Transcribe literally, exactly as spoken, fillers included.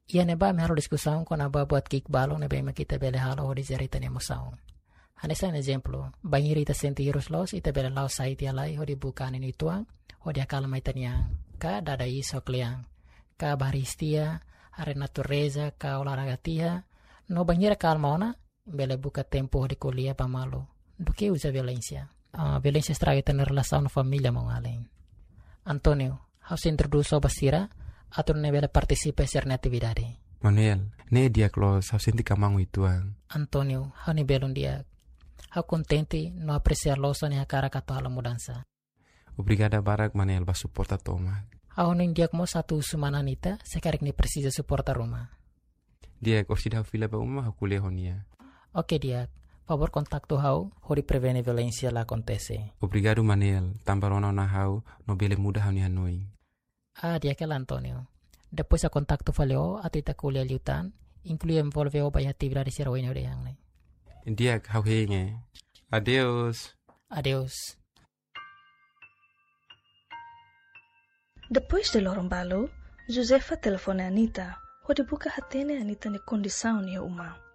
Iha ne'ebá ami halo diskusaun kona-ba buat ki'ik balun ne'ebé mak ita bele halo hodi jere ita-nia emosaun. Hanesan ezemplu, bainhira ita sente hirus loos, ita bele la'o sai tiha lai hodi buka anin uitoan hodi akalma ita-nia an, ka dada iis ho kle'an, ka bá haree iis tiha, haree natureza, ka olahraga tiha. No bainhira kalma ona, bele buka tempu hodi ko'alia ba malu duké uza violénsia. Ah, violénsia estraga ita-nia relasaun família maun-alin. António, ha'u sei introdús ó ba sira atu nune'e bele partisipa iha sira-nia atividade. Manuel, ne'e di'ak loos, ha'u sente kmaan uitoan. António, ha'u-nia belun di'ak. Ha'u kontente no apresia loos ó-nia hakarak atu halo mudansa. Obrigada barak Manuel ba suporta tomak. Ha'u hanoin di'ak mós atu husu mana Anita, se karik nia presiza suporta ruma. Di'ak, orsida ha'u fila ba uma, ha'u ko'alia ho nia. Oke di'ak, favór kontaktu ha'u hodi prevene violénsia la akontese. Obrigadu Manuel, tanba rona ona ha'u no bele muda ha'u-nia hanoin. Ah, di'ak hela António. Depois ha'u kontaktu fali ó atu ita ko'alia liután, inklui envolve ó ba iha atividade sira oin ha'u dehan ne'e. Di'ak, ha'u hein. Adeus. Adeus. Depois de loron balu, Josefa telefone Anita, hodi buka hatene Anita nia kondisaun iha uma.